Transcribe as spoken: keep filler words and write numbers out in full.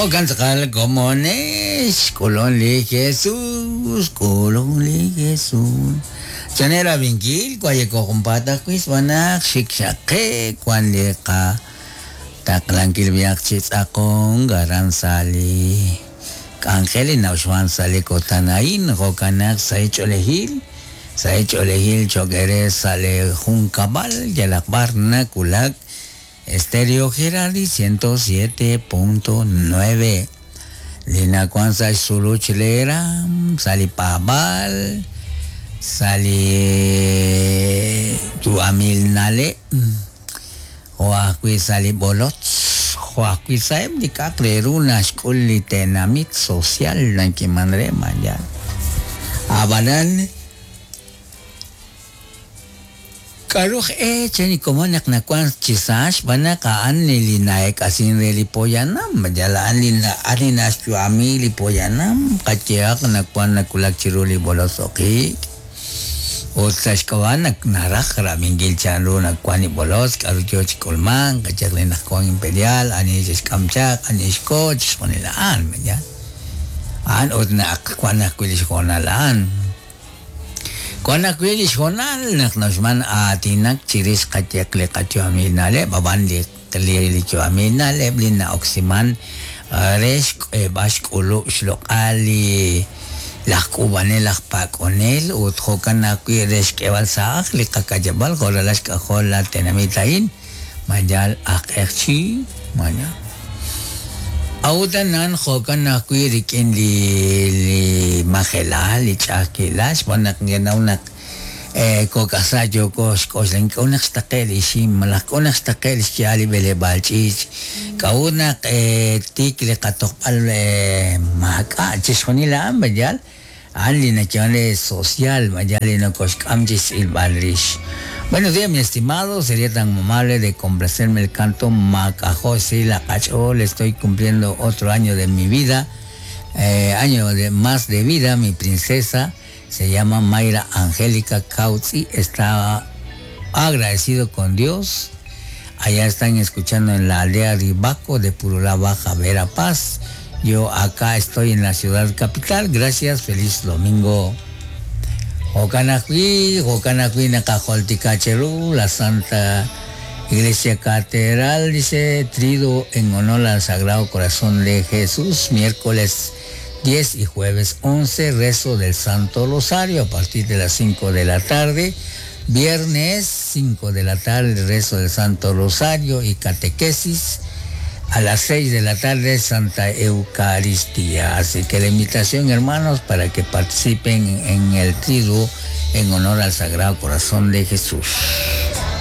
Jo'kan tz'aqal komonex, k'ulun li Jesús, k'ulun li Jesús. Chanel abinkil, kwayeko junpaat ajwi' xb'aan xik xaqe wan li qa taqlankil viaj chi tz'aqon aran sa' li k'anjel li nawxwan sa' li kotanaín jo'kan naq sa' ch'oolejil sa' ch'oolejil cho'q ere sa' li junkab'al yalaq b'ar nakulak Estéreo Gerardi ciento siete punto nueve. Li nakuan sa' xsuluch lera sa' li paab'al sa' li yu'amil na'leb' jo' ajwi' sa' li b'olotz jo' ajwi' sa'eb' li k'a'aq re ru naxk'ul li tenamit social nakiman re mañana. Ab'anan k'aruj e chani komon naq nakuan chi sa' xb'aan naq a'an li na'ek'asin re li poyanam yal a'an li a'an li naxyu'ami li poyanam qayehaq nakuan nakulak chiru li b'olotz oqiik ut sa' xk'ab'a' naq naraj rab'inkil chanru nakuan li b'olotz k'aru yoo chi k'ulmank qayehaq li naq wan imperial ani xe'xk'am chaq ani xko chixjunil a'an ya a'an ut naq wan ajwi' li xhoonal a'an wan ajwi' li xhoonal naq naxman aatinak chirix qayehaq li qayu'amil na'leb' ab'an li li yu'amil na'leb' li na'oksiman re xk'eeb'al xk'ulub' xloq'al li laj k'uub'anel laj pak'onel ut jo'kan ajwi' re xk'eeb'al sa' aj li qakayab'al jo' ralal xk'ajol la tenamit a'in mayal ajq'eqchi maya Awutanan jo'kan ajwi' rik'in li li majelal li ch'a'ajkilal xb'aan naq ngenaw naq kok'aj yooko xk'oxlan k'o naq xtaqe' li ixim malaj k'o naq xtaqe' li xya'al li b'eleb'aal ch'iich' k'a'ut naq tik li qatoqb'al maak'a' chixjunil a'an mayal a'an li nayeeman re social mayal li nokoxk'am chi xtz'ilb'al rix. Buenos días, mi estimado. Sería tan amable de complacerme el canto Macajo Sila Cachol. Estoy cumpliendo otro año de mi vida, eh, año de más de vida. Mi princesa se llama Mayra Angélica Cautzi. Está agradecido con Dios. Allá están escuchando en la aldea Ribaco de Purulá Baja, Verapaz. Yo acá estoy en la ciudad capital. Gracias. Feliz domingo. Jo'kan ajwi' jo'kan ajwi' naqajoltikacheru la Santa Iglesia Catedral, dice, trido en honor al Sagrado Corazón de Jesús, miércoles diez y jueves once, rezo del Santo Rosario a partir de las cinco de la tarde, viernes cinco de la tarde, rezo del Santo Rosario y catequesis, a las seis de la tarde, Santa Eucaristía. Así que la invitación, hermanos, para que participen en el triduo en honor al Sagrado Corazón de Jesús.